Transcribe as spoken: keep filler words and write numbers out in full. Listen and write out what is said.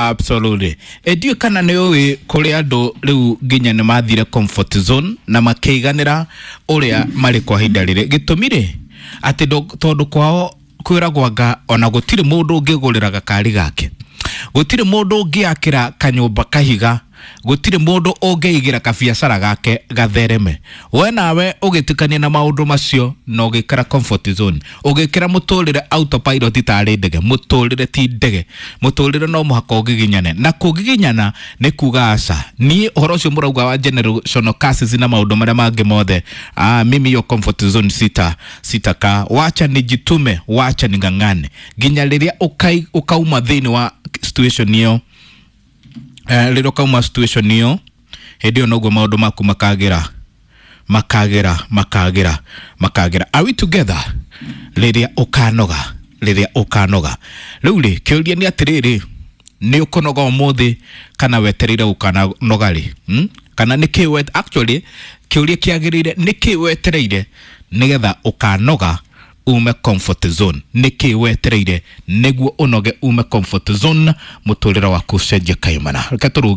Absolutely. E, ndiũĩ kana nĩ ũĩ kũrĩ andũ rĩu nginya nĩ mathire comfort zone na makĩiganĩra ũrĩa marĩ kwa ihinda rĩrĩ. Gĩtũmi rĩ, atĩ ndo- tondũ kwao kwĩragwo anga ona gũtirĩ mũndũ ũngĩgũrĩra gakari gake, gũtirĩ mũndũ ũngĩakĩra kanyũmba kahiga, gũtirĩ mũndũ ũngĩigĩra kabiacara gake gathereme. We nawe ũgĩtukania na maũndũ macio na ũgĩkĩra comfort zone, ũgĩkĩra mũtũrĩre autopilot tarĩ ndege. Mũtũrĩre ti ndege, mũtũrĩre no mũhaka ũgiginyane, na kũgiginyana nĩ kuga aca. Niĩ ũhoro ũcio mũrauga wa generational curses na maũndũ marĩa mangĩ mothe, ah, mimi hiyo comfort zone sita sitaka. Wacha nijitume, wacha ning'ang'ane nginya rĩrĩa ũkai- ũkauma thĩinĩ wa situation ĩyo. Eh, rĩrĩa ũkauma situation ĩyo, hĩndĩ ĩyo noguo maũndũ maku makagĩra, makagĩra, makagĩra, makagĩra. Are we together? Rĩrĩa ũkanoga, rĩrĩa ũkanoga rĩu rĩ, kĩũria nĩ atĩrĩrĩ, nĩ ũkũnoga ũmũthĩ kana wetereire ũkanoga rĩ, hmm? Kana nĩ kĩ wet actually kĩũria kĩagĩrĩire nĩ kĩ wetereire nĩgetha ũkanoga ume comfort zone? Nĩ kĩ wetereire nĩguo ũnoge ume comfort zone, mũtũrĩre waku ũcenjie kaimana? Reke tũrũge.